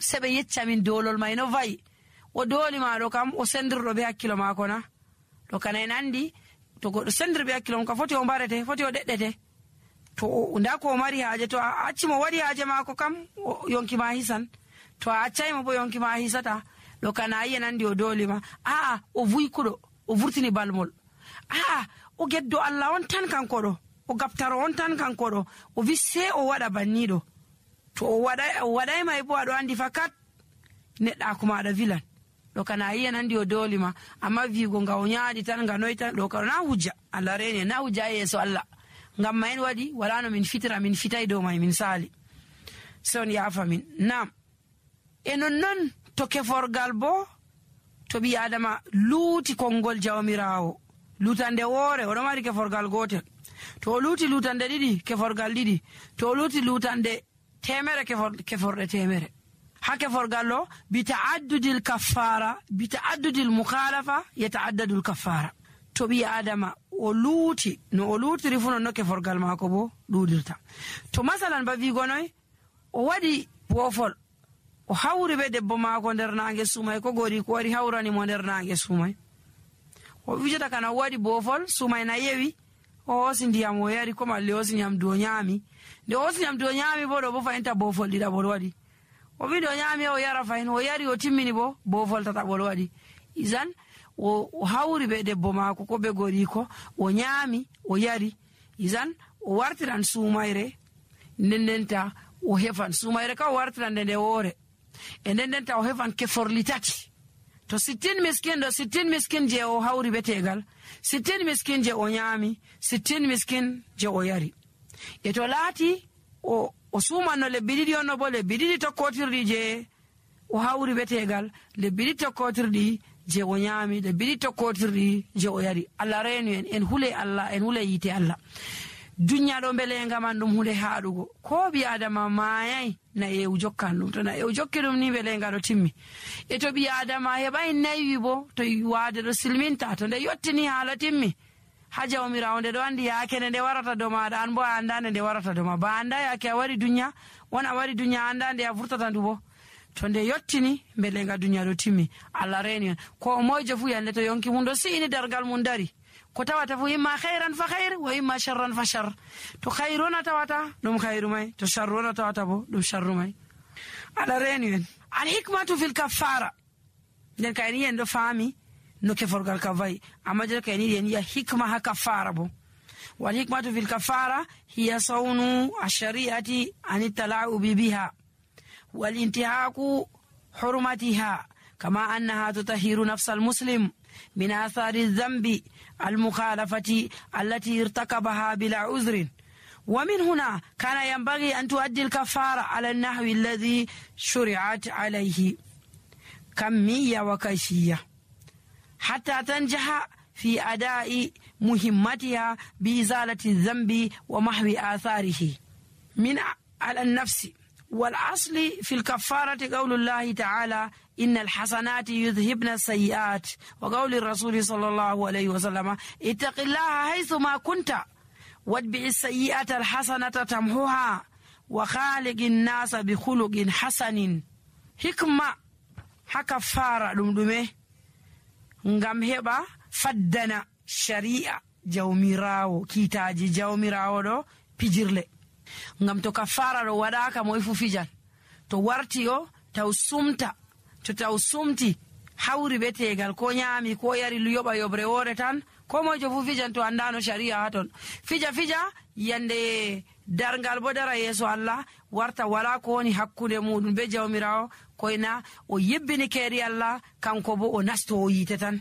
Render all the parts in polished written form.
sebe yecca min dolol may no vayi o doli ma do kam o sendirdo be hakkilo mako na to kana en andi to goddo sendir be hakkilo mako foti o barete foti o deddete to nda ko mari haaje to a acci mo wadi haaje mako kam yonki ma hisan to a accay mo bo yonki ma hisata do kana yen andi o doli ma o vuy kudo o vurtini balmol o geddo Allah on tan kanko do o gaptaro on tan kanko do o visse o wada bannido to o waday mai bo ado andi fakat nedda kuma da vilan do kana yen andi o doli ma amma vigo nga o nyaadi tan nga noy tan do kana hujja Allah rene na hujja yeso Allah ngam mayen wadi wala no min fitira min fitay do may min sali son ya famin nam non to keforgal bo to bi adama luuti kongol jawmirawo lutande wore o do mari keforgal gotel to luuti lutande didi keforgal didi to luuti lutande temere keforde temere ha keforgal lo bi ta'addudil kaffara bi ta'addudil mukhalafa yata'addadul kaffara to bi adama o luuti no o luuti rifuno no keforgal mako bo dudirta to masalan ba vi gonoy o wadi bofol o hawri be debbo mako der nange sumay ko gori ko wari hawrani mo der nange sumay o wijata kana wadi bofol sumay na yewi o sindiyam o yari ko malle o sinyam do nyami de o sinyam do nyami bo do bo fainta bofol dida bo wadi o wi do nyami o yara fain o yari o timmini bo bofol tata bo wadi izan o hawri be debbo mako ko be gori ko o nyami o yari izan o wartiran sumayre nendenta o hefan sumayre ka wartiran de wore nendenta o hefan keforlitati to 60 miskin do 60 miskin je o hawri betegal 60 miskin je o nyami 60 miskin je o yari to lati o sumano le bididi onno bo le bididi to kotirdi je o hawri betegal le bididi to kotirdi je o nyami le bididi to kotirdi je o yari Allah renu en hule Allah en hule yite Allah dunya do belenga man dum hunde haadugo ko bi adama mayai na e ujokkanum to na e ujokkidum ni belenga do timmi to bi adama hebay nayi bo to yuwade do silminta to de yottini hala timmi haja o mirawde do andi yakene de warata do ma dan bo andane de warata do ma ba anda yake wari dunya wona wari dunya andande a furtata ndubo to de yottini belenga dunya do timmi Allah reni ko mojo fu yande to yonki mun do siini dargal mun dari ko tawata fu imma khairan fa khair wa imma sharran fa shar to khairuna tawata dum khairu may to sharruna tawata bo dum sharru may ala reni al hikmatu fil kaffara den kayni en do fami no ke forgal ka vai amma je kayni en ya hikma ha kaffara bo wal hikmatu fil kaffara hiya sawnu ash-shari'ati an tala'u biha wal intihaku hurmatiha kama annaha tutahhiru nafs al-muslim من آثار الذنب المخالفة التي ارتكبها بلا عذر ومن هنا كان ينبغي أن تؤدي الكفارة على النحو الذي شرعت عليه كمية وكيفية حتى تنجح في أداء مهمتها بإزالة الذنب ومحو آثاره من على النفس والأصل في الكفارة قول الله تعالى إن الحسنات يذهبن السيئات وقول الرسول صلى الله عليه وسلم اتق الله حيثما كنت واتبع السيئة الحسنة تمحوها وخالق الناس بخلق حسن حكمة حكفارة دمدمه ngam heba faddana sharia jawmirawo kitaji jawmirawo do pijirle ngam to kafara do wadaka moy fu fijan to warti o taw sumta to taw sumti hawri betegal ko nyami ko yari lu yoba yobre wore tan ko mojo fu fijan to andano sharia haton fija yande dargal bo dara yeso Allah warta wala ko woni hakkunde mudum be jawmirawo koyna o yebbini keri Allah kanko bo o nasto o yite tan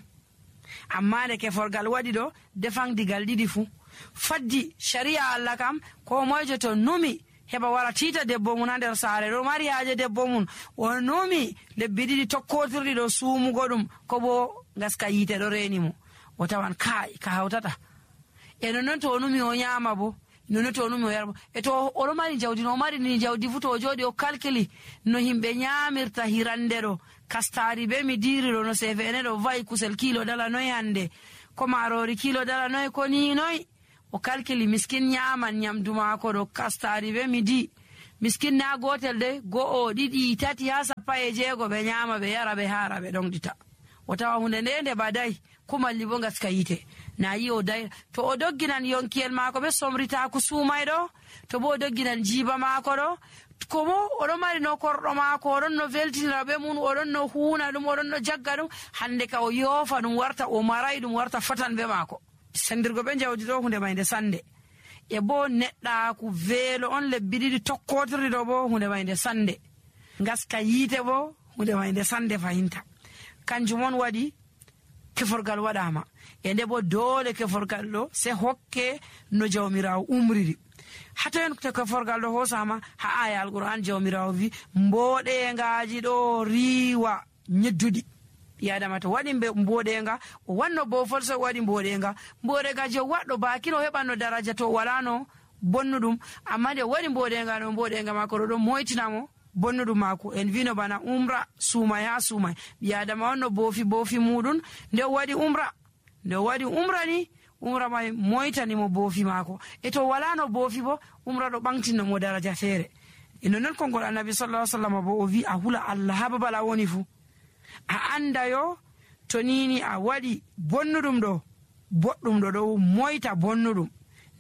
amma de ke forgal wadi do defang digal didi fu faddi sharia Allah kam ko mojo to numi heba wara tita debbo mun nder saare do mari haaje debbo mun o nomi lebbi didi tokkotirdi do suumugo dum ko bo gaska yite do reni mo o tawan kai ka hawtata non to numi o nyama bo non to numi o yarbo to o do mari jawdi no mari ni jawdi futo o jodi o kalkili no himbe nyamirta hirandero kastari be mi diriro no sefene do vai kusel kilo dala noy hande ko marori kilo dala noy ko ni noy o kalkili miskin nyaman nyamduma ko do kastari be midi miskin na gotel de go'o ɗiɗi tati ha 16 ɓe nyama ɓe yara ɓe hara ɓe ɗonɗita o tawa hunde nde badai kumalli bo gaska yite na yi o dai to o dogginan yonkiyel maako ɓe somritaku sumayɗo to bo o dogginan jiba maako ɗo ko bo oɗon mari no korɗo maako oɗon no veltinira ɓe mum oɗon no huuna ɗum oɗon no jagga ɗum hande ka o yoofa ɗum warta o maray ɗum warta fatan ɓe maako sendirgo ɓe jawdi ɗo hunde mayde sande e bo neɗɗaku veelo on lebbi ɗiɗi tokkotirɗi ɗo bo hunde mayde sande gaska yiite bo hunde mayde sande fahinta kanjum on waɗi keforgal waɗama e nde bo doole keforgal ɗo se hokke no jawmirawo umriri hatoen to keforgal ɗo hosama ha aya alquran jawmirawo wi mboɗengaji ɗo riwa ñedduɗi yadama to waɗi mboɗenga o wanno bofol so waɗi mboɗengaji o waɗɗo bakino heɓanno daraja to walano bonnuɗum amma nde waɗi mboɗenga no mboɗenga mako ɗo ɗon moytinamo bonnuɗum mako en wino bana umra suumay ha suumay ɓiyadama on no boofi muɗum nde waɗi umra ni umra may moytanimo boofi mako e to wala no boofi bo umra ɗo ɓamtinnomo daraja feere ino non konngol annabi sallallahu alaihi wasallam bo o wi a hula Allah ha babal a woni fu a anda yo to nini a waɗi bonnuɗum ɗo boɗɗum ɗo moyta bonnuɗum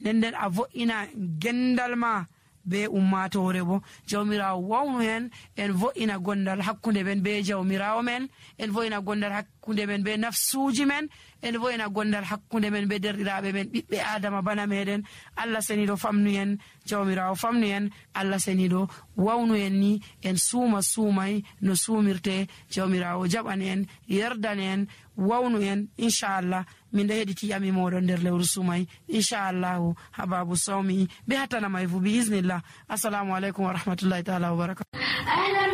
nden a vo'ina gendal ma be ummatore bo jawmirawo wawnu hen en vo'ina gondal hakkunde men be jawmirawo men en vo'ina gondal hakkunde men be nafsuji men en vo'ina gondal hakkunde men be derɗiraɓe men ɓiɓɓe adama bana meɗen Allah seniɗo famnu en jawmirawo famnu en Allah seniɗo wawnu en ni en suumay no suumirte jawmirawo jaɓan en yerdan en wawnu en inchallah min ɗo heɗiti yami moɗon nder lewru sumay inchallahu ha babu sawmi be hattanamay fu bi isnillah assalamu aleykum wa rahmatullahi taala wa barakatuh.